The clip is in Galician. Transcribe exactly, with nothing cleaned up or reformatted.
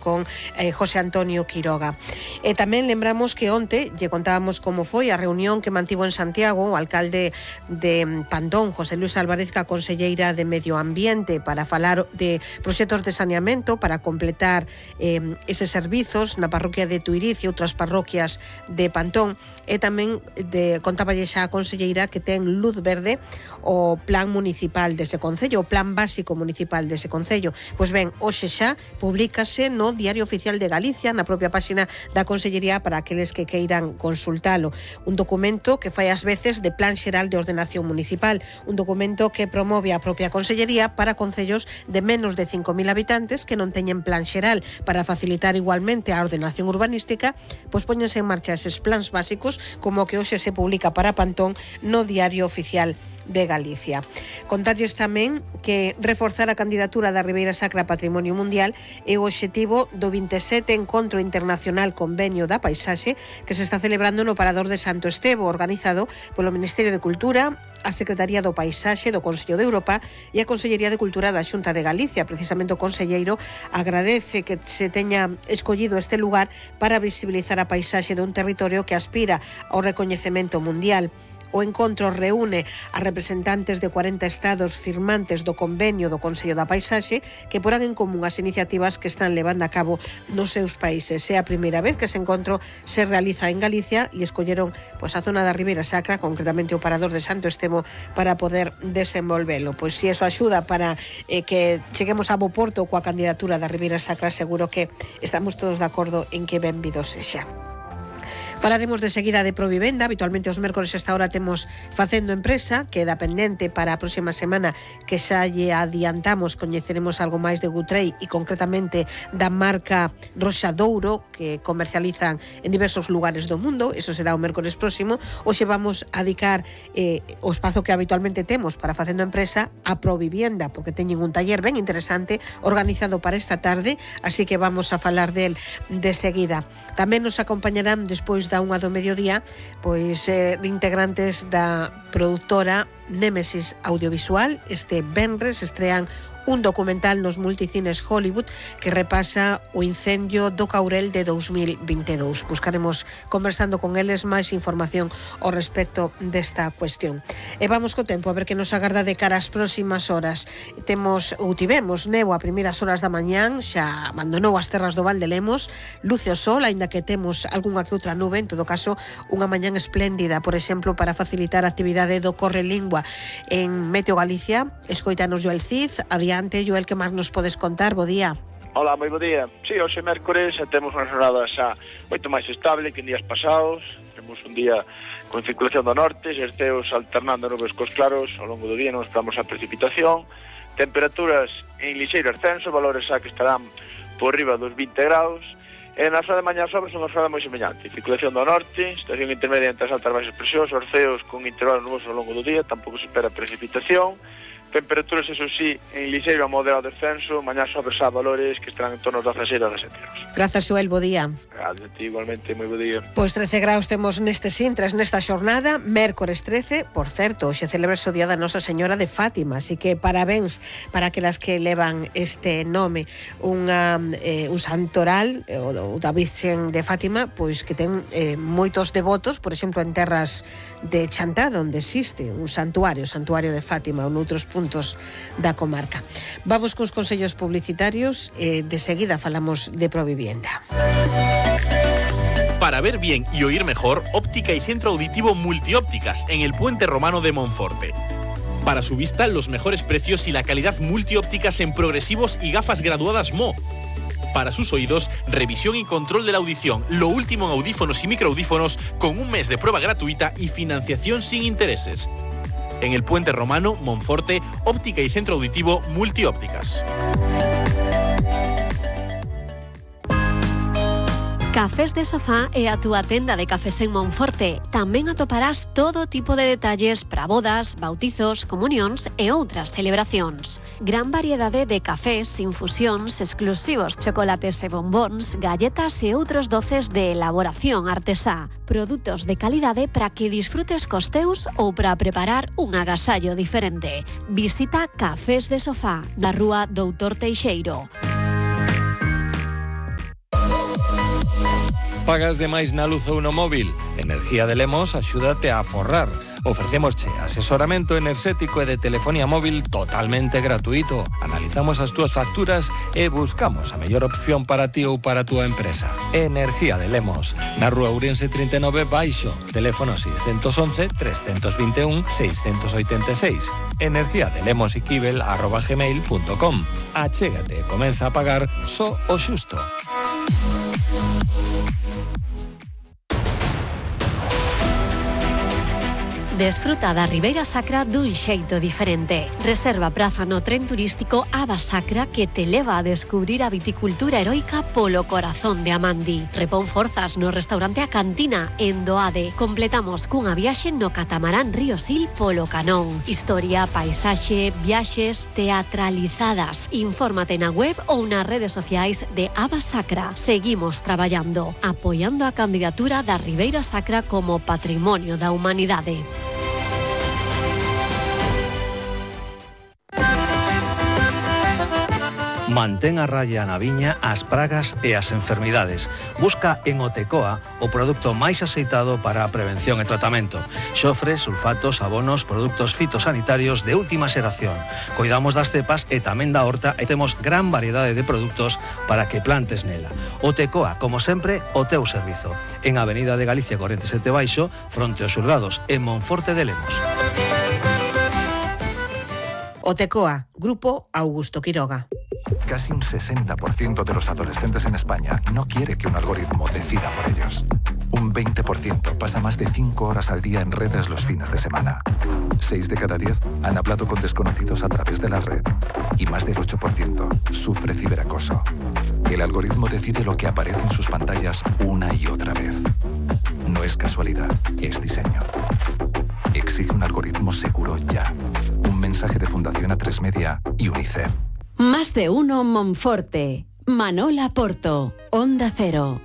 con eh, José Antonio Quiroga. E tamén lembramos que onte lle contábamos como foi a reunión que mantivo en Santiago o alcalde de Pantón, José Luis Álvarez, ca conselleira de Medio Ambiente, para falar de proxectos de saneamento para completar eh, eses servizos na parroquia de Tuiriz e outras parroquias de Pantón. E tamén de, contáballe xa a conselleira que ten luz verde o plan municipal dese concello, o plan básico municipal dese concello. Pois ben, hoxe xa publícase no Diario Oficial de Galicia, na propia páxina da Consellería, para aqueles que queiran consultalo. Un documento que fai ás veces de Plan Xeral de Ordenación Municipal, un documento que promove a propia Consellería para concellos de menos de cinco mil habitantes que non teñen plan xeral. Para facilitar igualmente a ordenación urbanística, pois póñense en marcha eses plans básicos, como que hoxe se publica para Pantón no Diario Oficial de Galicia. Contarlles tamén que reforzar a candidatura da Ribeira Sacra a Patrimonio Mundial é o obxectivo do vinte e sete Encontro Internacional Convenio da Paisaxe que se está celebrando no Parador de Santo Estevo, organizado polo Ministerio de Cultura, a Secretaría do Paisaxe do Consello de Europa e a Consellería de Cultura da Xunta de Galicia. Precisamente o conselleiro agradece que se teña escollido este lugar para visibilizar a paisaxe dun territorio que aspira ao recoñecemento mundial. O encontro reúne a representantes de cuarenta estados firmantes do convenio do Consello da Paisaxe que porán en común as iniciativas que están levando a cabo nos seus países. É a primeira vez que ese encontro se realiza en Galicia e escolleron pois, a zona da Ribeira Sacra, concretamente o Parador de Santo Estevo, para poder desenvolvelo. Pois se iso axuda para eh, que cheguemos a bo porto coa candidatura da Ribeira Sacra, seguro que estamos todos de acordo en que benvido sexa. Falaremos de seguida de Provivenda. Habitualmente os mércores esta hora temos Facendo Empresa, que dá pendente para a próxima semana, que xa lle adiantamos, coñeceremos algo máis de Gutrei e concretamente da marca Roxadouro, que comercializan en diversos lugares do mundo. Eso será o mércores próximo. Hoxe vamos a dedicar eh, o espazo que habitualmente temos para Facendo Empresa a Provivenda, porque teñen un taller ben interesante organizado para esta tarde, así que vamos a falar del de seguida. Tamén nos acompañarán despois da unha do mediodía pois eh, integrantes da produtora Némesis Audiovisual. Este venres estrean un documental nos multicines Hollywood que repasa o incendio do Caurel de dous mil vinte e dous. Buscaremos, conversando con eles, máis información ao respecto desta cuestión. E vamos co tempo, a ver que nos agarda de cara ás próximas horas. Temos, ou tivemos, neo a primeiras horas da mañán, xa abandonou as terras do Val de Lemos, luce o sol, aínda que temos algunha que outra nube, en todo caso, unha mañán espléndida, por exemplo, para facilitar a actividade do Correlingua. En Meteo Galicia, escoitanos Joel Cid. Adiante, Joel, que máis nos podes contar? Bo día. Hola, moi bo día. Si, sí, hoxe mércores temos unha jornada xa moito máis estable que en días pasados. Temos un día con circulación do norte, xerceos alternando nubes cos claros. Ao longo do día non esperamos a precipitación. Temperaturas en lixeiro ascenso, valores xa que estarán por riba dos vinte graus. E na zona de mañá sobre son unha zona moi semellante. Circulación do norte, situación intermedia entre as altas e baixas presións, orceos con intervalos nubosos ao longo do día, tampouco se espera precipitación. Temperaturas, eso sí, en lixeiro a moderado descenso, mañá sobre xa valores que estarán en torno aos dezasete a dezasete graus. Grazas, Joel, bo día. Gracias a ti, igualmente, moi bo día. Pois trece graus temos neste Sintras nesta xornada, mércores trece, por certo, hoxe celebra o Día da Nosa Señora de Fátima, así que parabéns para aquelas que levan este nome, unha, eh, un santoral, eh, o da Virxen de Fátima, pois que ten eh, moitos devotos, por exemplo, en terras de Chantada, onde existe un santuario, o Santuario de Fátima, ou noutros puntos da comarca. Vamos cos consellos publicitarios e de seguida falamos de Provivienda. Para ver bien y oír mejor, óptica y centro auditivo Multiópticas en el Puente Romano de Monforte. Para su vista, los mejores precios y la calidad multiópticas en progresivos y gafas graduadas M O. Para sus oídos, revisión y control de la audición, lo último en audífonos y microaudífonos con un mes de prueba gratuita y financiación sin intereses. En el Puente Romano, Monforte, óptica y centro auditivo Multiópticas. Cafés de Sofá é a túa tenda de cafés en Monforte. Tamén atoparás todo tipo de detalles para bodas, bautizos, comunións e outras celebracións. Gran variedade de cafés, infusións, exclusivos chocolates e bombóns, galletas e outros doces de elaboración artesá. Produtos de calidade para que disfrutes cos teus ou para preparar un agasallo diferente. Visita Cafés de Sofá, na rúa Doutor Teixeiro. Pagas de máis na luz ou no móvil? Energía de Lemos axúdate a aforrar. Ofrecémosche asesoramento enerxético e de telefonía móvil totalmente gratuito. Analizamos as túas facturas e buscamos a mellor opción para ti ou para a túa empresa. Energía de Lemos, na rúa Ourense trinta e nove baixo, teléfono seis once, tres dos un, seis oito seis. Energía de Lemos Iquibel arroba gmail punto com. Achégate e comeza a pagar só o xusto. Desfruta da Ribeira Sacra dun xeito diferente. Reserva praza no tren turístico Aba Sacra que te leva a descubrir a viticultura heroica polo corazón de Amandi. Repón forzas no restaurante A Cantina en Doade. Completamos cunha viaxe no catamarán Río Sil polo Canón. Historia, paisaxe, viaxes teatralizadas. Infórmate na web ou nas redes sociais de Aba Sacra. Seguimos traballando, apoiando a candidatura da Ribeira Sacra como Patrimonio da Humanidade. Mantén a raya na viña as pragas e as enfermidades. Busca en Otecoa o produto máis aceitado para a prevención e tratamento. Xofre, sulfatos, abonos, produtos fitosanitarios de última xeración. Cuidamos das cepas e tamén da horta e temos gran variedade de produtos para que plantes nela. Otecoa, como sempre, o teu servizo. En Avenida de Galicia corrente sete baixo, fronte aos Xulgados, en Monforte de Lemos. Otecoa, Grupo Augusto Quiroga. Casi un sesenta por ciento de los adolescentes en España no quiere que un algoritmo decida por ellos. Un veinte por ciento pasa más de cinco horas al día en redes los fines de semana. seis de cada diez han hablado con desconocidos a través de la red. Y más del ocho por ciento sufre ciberacoso. El algoritmo decide lo que aparece en sus pantallas una y otra vez. No es casualidad, es diseño. Exige un algoritmo seguro ya. Un mensaje de Fundación A tres Media y UNICEF. Más de uno Monforte. Manola Porto. Onda Cero.